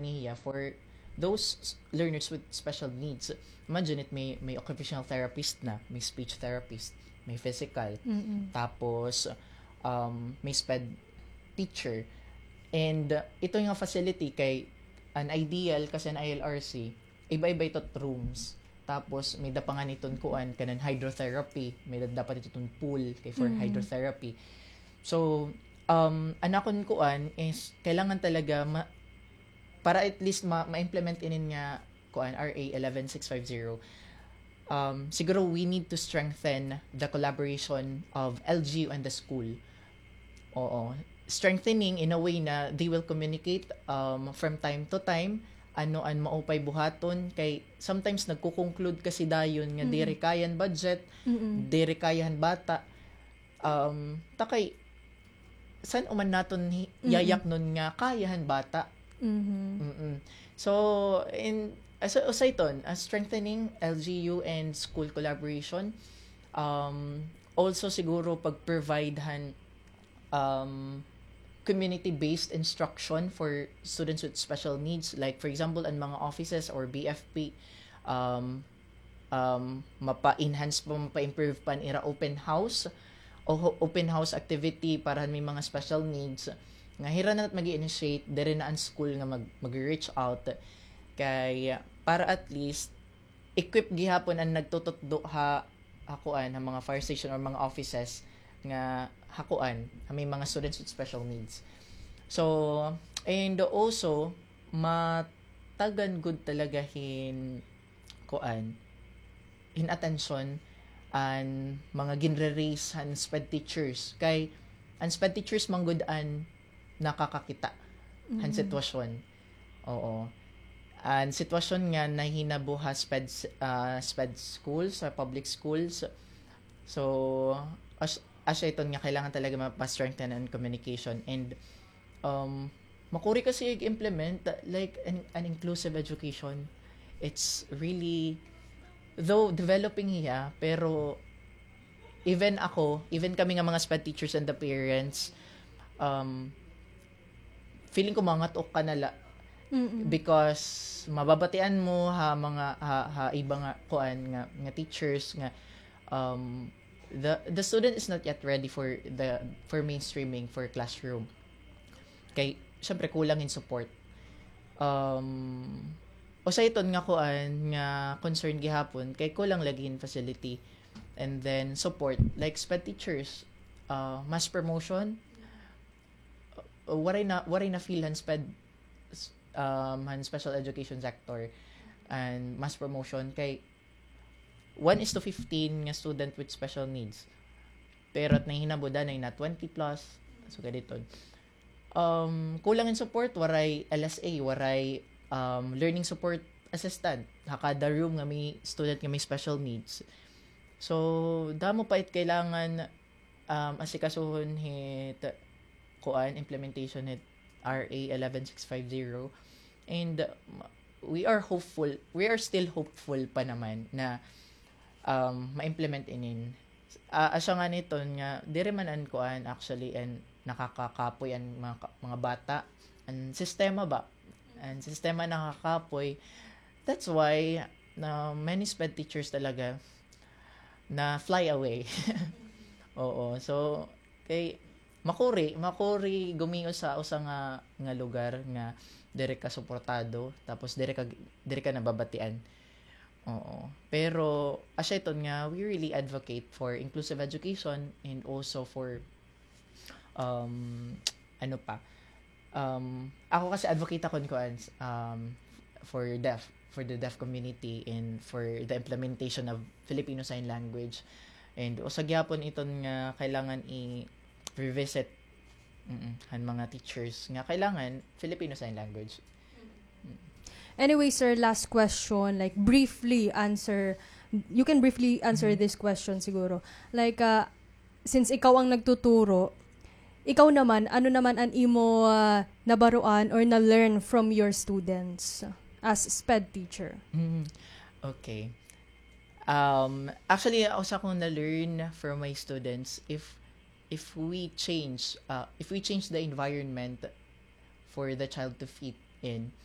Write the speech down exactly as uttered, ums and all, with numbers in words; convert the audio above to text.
niya for those s- learners with special needs. Imagine it, may, may occupational therapist na, may speech therapist, may physical, Mm-mm. tapos um, may sped teacher. And uh, ito nga facility kay an ideal kasi an I L R C, iba-iba ito rooms. Tapos may da pa nga niton kuan kanan hydrotherapy, may da- dapat ito ton pool kay for Mm. hydrotherapy. So um an akon kuan is kailangan talaga ma- para at least ma- ma-implement inin nga kuan R A eleven six five zero. Um, siguro we need to strengthen the collaboration of L G U and the school. Oo. Strengthening in a way na they will communicate um, from time to time ano an maupay buhaton kay sometimes nagko-conclude kasi dayon nga Mm. diri kaya han budget, Mm-mm. diri kaya han bata. Um, takay san uman naton hi- Mm-mm. yayaknon nga kaya han bata. Mhm. Mm-mm. So in as usa iton, uh, strengthening L G U and school collaboration. Um, also siguro pag-provide han um, community-based instruction for students with special needs. Like for example, an mga offices or B F P, um, um, mapa-enhance pa, mapa-improve pa an ira open house o ho- open house activity para han may mga special needs. Nga hira na mag-initiate, diri na an school nga mag- mag-reach out kay para at least equip gihapon an nagtututdo ha ha kuan, ha mga fire station or mga offices nga ha kuan, ha may mga students with special needs. So and also matagan gud talaga hin kuan, hin atensyon an mga ginre-raise han sped teachers kay an sped teachers man gud an nakakakita han Mm. sitwasyon. Oo. An sitwasyon nga nahinabo ha sped ah, sped schools, sa public schools. So as asya iton nga kailangan talaga mapa-strengthen an communication and um makuri kasi ig-implement like an, an inclusive education. It's really though developing hiya pero even ako, even kami nga mga sped teachers and the parents, um, feeling ko mangat-ok ka na la Mm-mm. because mababatian mo ha mga ha, ha iba nga kuan nga, nga teachers nga um the the student is not yet ready for the for mainstreaming for classroom kay syempre kulang in support. Um, usa iton nga kuan nga concern gihapon kay kulang lagi in facility and then support like sped teachers, uh, mass promotion, uh, waray na waray na feel han sped um, han special education sector and mass promotion kay one is to fifteen nga student with special needs. Pero at nahinabo danay na twenty plus. So, kadito. Um, kulang in support, waray L S A, waray um, learning support assistant. Ha kada room nga may student nga may special needs. So, damo pa it kailangan um, asikasuhon hit kuan, implementation hit R A eleven six five zero. And um, we are hopeful, we are still hopeful pa naman na um, ma-implement inin. Ah, asya nga niton nga, diri man an kuan actually and nakakakapoy an mga, ka- mga bata. An sistema ba? An sistema nakakapoy. That's why na many sped teachers talaga na fly away. Oo. So, kay makuri, makuri gumiyo sa usa nga nga lugar nga diri ka suportado, tapos diri ka diri ka nababatian. Oo. Pero asya iton nga we really advocate for inclusive education and also for um ano pa, um, ako kasi advocate ako kuan um, for deaf, for the deaf community and for the implementation of Filipino Sign Language. And usa gyapon iton nga kailangan i-revisit mm, han mga teachers nga kailangan Filipino Sign Language. Anyway, sir, last question, like briefly answer, you can briefly answer this question siguro. Like uh, since ikaw ang nagtuturo, ikaw naman, ano naman an imo uh, nabaruan or na-learn from your students as sped teacher? Mm, okay. Um, actually, usa kong na-learn from my students, if if we change uh, if we change the environment for the child to fit in,